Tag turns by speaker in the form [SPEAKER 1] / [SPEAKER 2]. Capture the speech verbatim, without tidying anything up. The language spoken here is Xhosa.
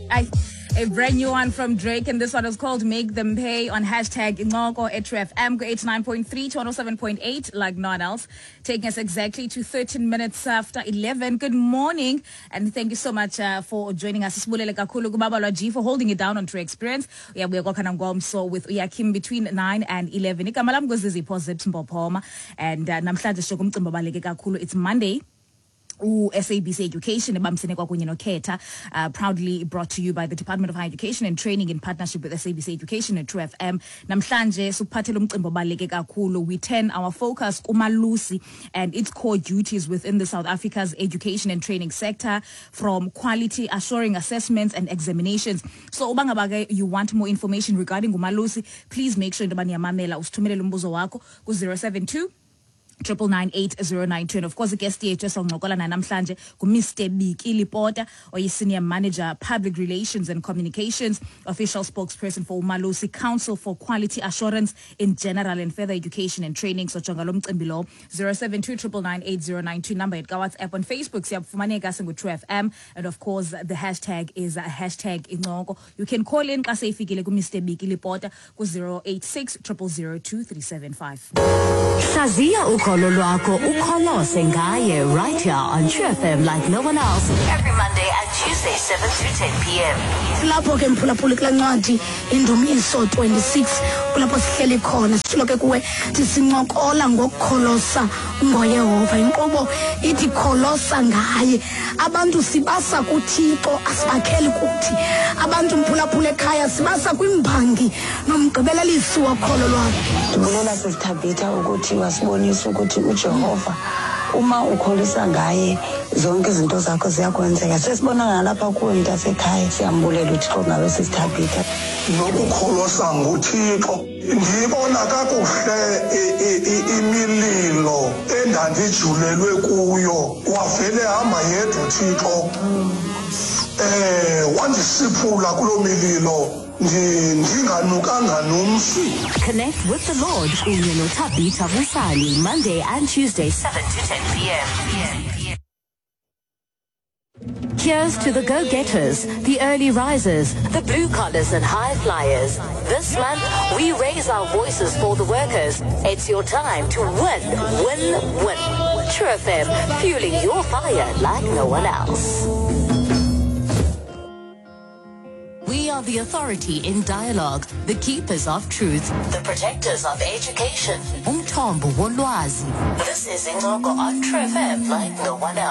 [SPEAKER 1] I, a brand new one from Drake, and this one is called Make Them Pay on hashtag Incoko at True F M, eighty-nine point three to one oh seven point eight, like none else, taking us exactly to thirteen minutes after eleven. Good morning, and thank you so much uh, for joining us. Sibulele kakhulu kuBabalwa G for holding it down on True Experience. Uyabuya kwakhona ngomso with Uyakim between nine and eleven. Igama lam nguZizipho Zips Mbophoma, and uh, namhlanje sijonge umcimbi obaluleke kakhulu. It's Monday. U S A B C Education ebambisene kwakunye noKhetha, uh, proudly brought to you by the Department of Higher Education and Training in partnership with S A B C Education and True F M. Namhlanje sikuphathele umcimbi obaluleke kakhulu. We turn our focus kuMalusi and its core duties within the South Africa's education and training sector, from quality assuring assessments and examinations. So uba ngaba ke you want more information regarding uMalusi, please make sure into yoba niyamamela, usithumelele umbuzo wakho ku zero seven two triple nine eight zero nine two. And of course, guest yethu esoncokola naye namhlanje nguMister Biki Lipota, oyi-Senior Manager, Public Relations and Communications, official spokesperson for Umalusi Council for Quality Assurance in General and Further Education and Training. So jonga lo mcimbi lo, zero seven two triple nine eight zero nine two, number yethu kaWhatsApp. On Facebook siyafumaneka singu True F M, and of course the hashtag is hashtag Incoko. You can call in xa seyifikile kuMister Biki Lipota ku zero eight six triple zero two three seven five.
[SPEAKER 2] Hlaziya ukholo lwakho ukholose ngaye right here on True F M like no one else, every Monday and Tuesday seven to ten P M.
[SPEAKER 3] Silapho ke mphulaphuli kula ncwadi Indumiso twenty-six, kulapho sihleli khona. Sitshilo ke kuwe sincokola ngokukholosa ngoYehova. Inkqubo ithi kholosa ngaye. Abantu sibasa kuThixo, asibakheli kuthi. Abantu mphulaphuli ekhaya sibasa kwimbangi nomgqibelelisi wokholo lwabo.
[SPEAKER 4] Ndibulela sisithabitha ukuthi wasibonisa ukuthi uJehova uma ukholisa ngaye zonke izinto zakho ziyakwenzeka. Sesibona nalapha kuwe mntasekhaya, siyambulela uThixo ngawe sisithabitha.
[SPEAKER 5] Nokukholosa nguThixo, ndibona kakuhle imililo endandijulelwe kuyo, wavele hamba yedwa uThixo. Eh, wandisiphula kuloo mililo. Ndinganukanga nomsi.
[SPEAKER 2] Connect with the Lord kunye noThabitha Busani Monday and Tuesday seven to ten P M. Here's to the go-getters, the early risers, the blue collars and high flyers. This month, we raise our voices for the workers. It's your time to win, win, win. True F M, fueling your fire like no one else. We are the authority in dialogue, the keepers of truth, the protectors of education. Umthombo wolwazi. This is Incoko on True F M like no one else.